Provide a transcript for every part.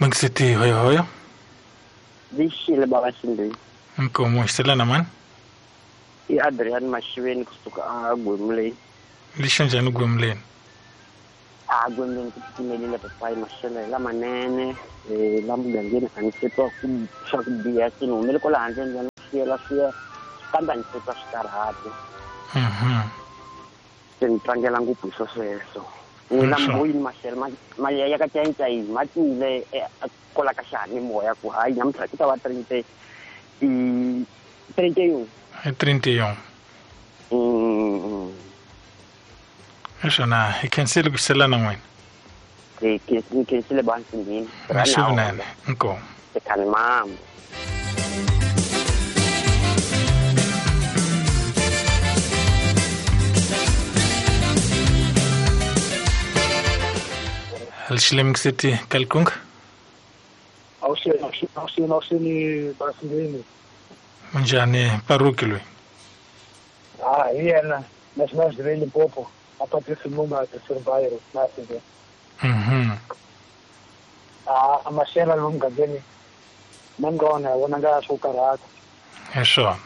Mingiseti hoyohoyo. Lixile baba Xindeni. Inkomo xiselana mani? I Adrian Maxiveni kusuka a Gwemuleni. Lixa njhani Gwemuleni? A Gwemuleni ku timelile papayi maxelo hi lamanene la mugangeni a ni se twa ku swa ku biha se ni humele kwala handle ni ya ni siyela swiya kambe a ni se twa swikarhati. Se ni tlangela ngopfu hi swo sweswo. N'wina moyini maxelo ma ya ka cayicayi ma tile kwala ka xiyanimoya ku hayi namuntlha ku ta va 31. I 31. Naswona hi khensile ku xelana n'wina. Hi khensile bansinini. Naswona inkomo. Ekhani mama. Alxilemxiti Kalkunga. Awuxini Basindini. Munjhani Paruki loyi? Ah, hi yena National Jire Limpopo, a Patrice Lumumba Sirbairo Nasindini. Ah, a maxela lomu mugangeni mangona vona nga swo karhata. Hi swona.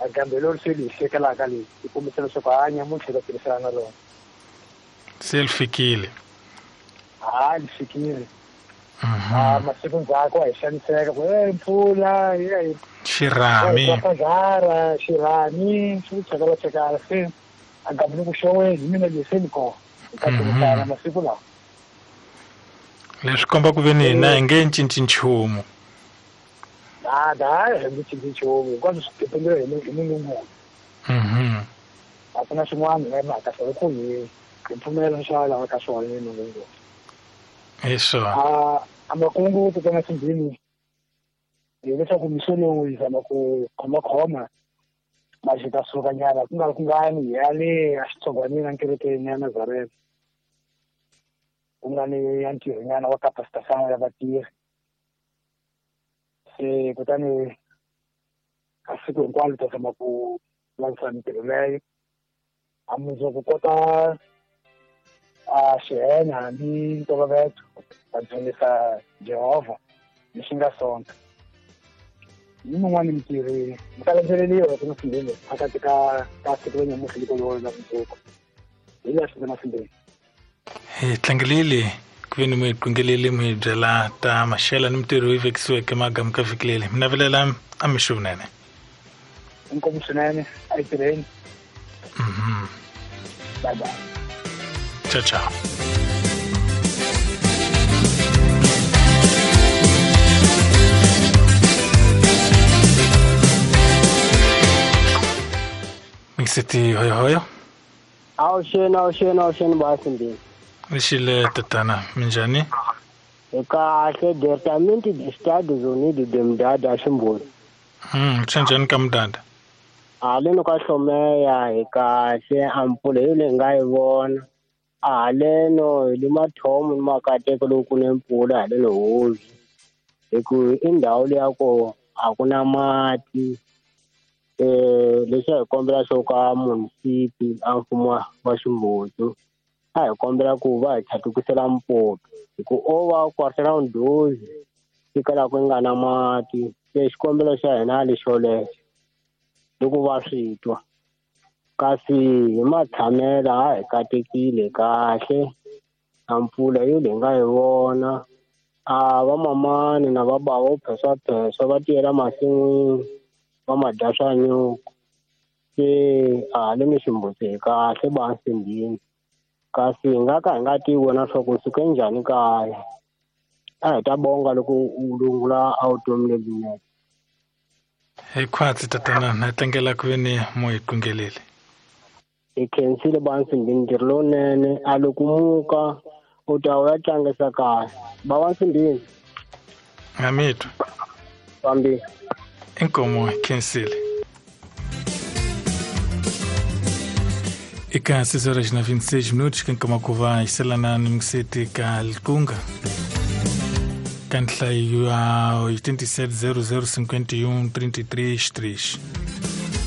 A kambe lolu se li hlekelaka leyi yi kombisa leswaku hanya munhu tlhela tirhisana na rona. Se li fikile. Ha li fikile. Ah, masiku ndzhaku a hi xaniseka ku mpfula yi xirhami pazara xirhami swi chakala chakala se a gambile ku xoweni hi mina leyi se ni kona hi ta tirhisana masiku lawa. Leswi komba ku ve ni hina hi nge cinci nchumu. A da hi nge cinci nchumu hinkwaswo swi dependile hi Mulungu. A ku na swin'wana hi nga mhaka swona ku hi pfumela swa lava ka swona hi Mulungu. Hi swona. A makungu tatana Simbini hileswaku mixo lowu hi zama ku khomakhoma ma ta suka nyana ku nga ri kungani hi ya le a xitsongwanini enkerekeni ya Nazareth ku nga ni ya ntirho nyana wa capacitation ya vatirhi. Se kutani a siku hinkwalo ta zama ku langutisa mintirho leyo a mundzuku kota a xihenya hambi ntolovelo va dzunisa Jehovha lexi nga sonta. Ni mun'wani mintirhi mi ta landzeleriwa ku Simbeni phakathi ka siku ra nyamutlha liko lolo na mundzuku. Hi leswi na Simbeni. Hi tlangelile ku ve ni mi qingelele mi byela ta maxela ni mintirho yi vekisiweke magamu ka vhiki leri. Mi navelela a mixo vunene. Inkomu swinene a hi tirheni. Bye bye. Ciao ciao. Mingiseti hoyohoyo. Awuxeni Basimbini. Lexile tatana minjhani? Hi kahle department de Estados Unidos de Mdada Ximboni. Swi njhani ka Mdada? Haleno ka Hlomeya hi kahle a mpfula hi leyi nga yi vona. Haleno hi le mathomo ni makateko loko ku ne mpfula haleno hosi. Hi ku i ndhawu leya ko a ku na mati. Lexi a hi kombela xo ka munisipi a mfumo wa Ximbutu a hi kombela ku va hi tlhatukisela mpopi hi ku o va quarter ndozi fika ku nga na mati. Se xikombelo xa hina lexolexo loko va swi twa. Kasi hi matshamela a hi katekile kahle a mpfula yo leyi nga yi vona. A vamamani na vabava vo pheswapheswa va tiyela masin'wini va ma dya swa nyuku. Se a haleni Ximbuti hi kahle Basimbini. Kasi hi nga ka hi nga tivi wena swa ku suke njhani kaya. A hi ta bonga loko u lungula a vutomi lebyinene. Hi khwatsi tatana na tlangela ku ve ni mo hi qingelele. Hi khensile Basimbini ntirho lowunene a loko muka u ta u ya tlangisa kaya. Ba Basimbini. Nga mitwa. Fambi. Inkomo khensile. Eka 6 horas na 26 minutos kankama ku va yiselana ni mingiseti ka Likunga. Ka nhlayo ya 87 00 51 33 3.